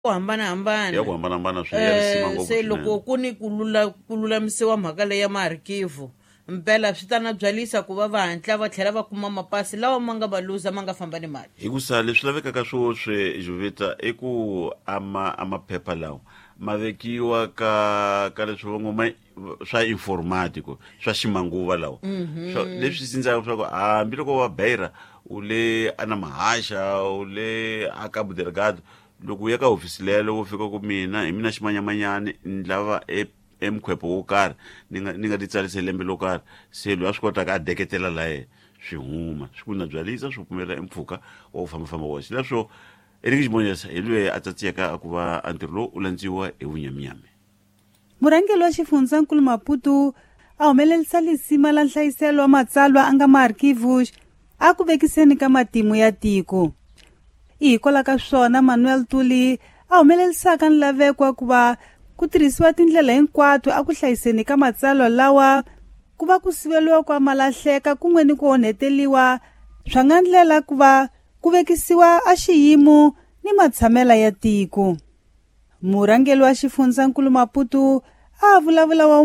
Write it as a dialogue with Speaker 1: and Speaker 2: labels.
Speaker 1: Ku hambanahambana.
Speaker 2: Ya ku hambanahambana swi ya risima ngopfu
Speaker 1: Se loko
Speaker 2: swinene.
Speaker 1: Ku ni ku lula ku lulamisiwa mhaka leyi ya maarkivu, mpela swi ta na byalisa ku va va hatla va tlhela va kuma mapasi lawa ma nga va luza, ma nga famba ni mali.
Speaker 2: Hikusa leswi lavekaka swoswi, Juvita, i ku ama a maphepha lawa ma vekiwa ka leswi va ngo ma swa informatico, swa ximanguva lawa. Swa leswi sindzaka swa ku hambiloko wa Beira, u le ana Mahaxa, u le a Cabo Delgado, loko u ya ka hofisi lelo, wo fika ku mina hi mina ximanyamanyani, ni lava e emkhwepo wo karhi, ni nga ti tsarisa hi lembe lo karhi, se loyi a swi kotaka a deketela laye, swi huma, swi ku na byalisa, swi pfumela empfhuka wa ku fambafamba woxe. Leswo Eric Ximonyesa hi loyi a tsatsiyaka a ku va a ntirho lowu u landziwa hi vunyaminyami.
Speaker 3: Murhangeri wa xifundzankulu Maputo a humelerisa lisima la nhlayiselo wa matsalwa a nga maarkivus a ku vekiseni ka matimu ya tiko. I hikwalaho ka swona Manuel Tuli a humelerisaka nlaveko wa ku va ku tirhisiwa tindlela hinkwato a ku hlayiseni ka matsalwa lawa, ku va ku siveliwa ku malahleka kun'we ni ku onheteliwa swa nga ndlela ku va ku vekisiwa a xiyimo ni matshamela ya tiko. Murhangeri wa xifundzankulu Maputo a vulavula wa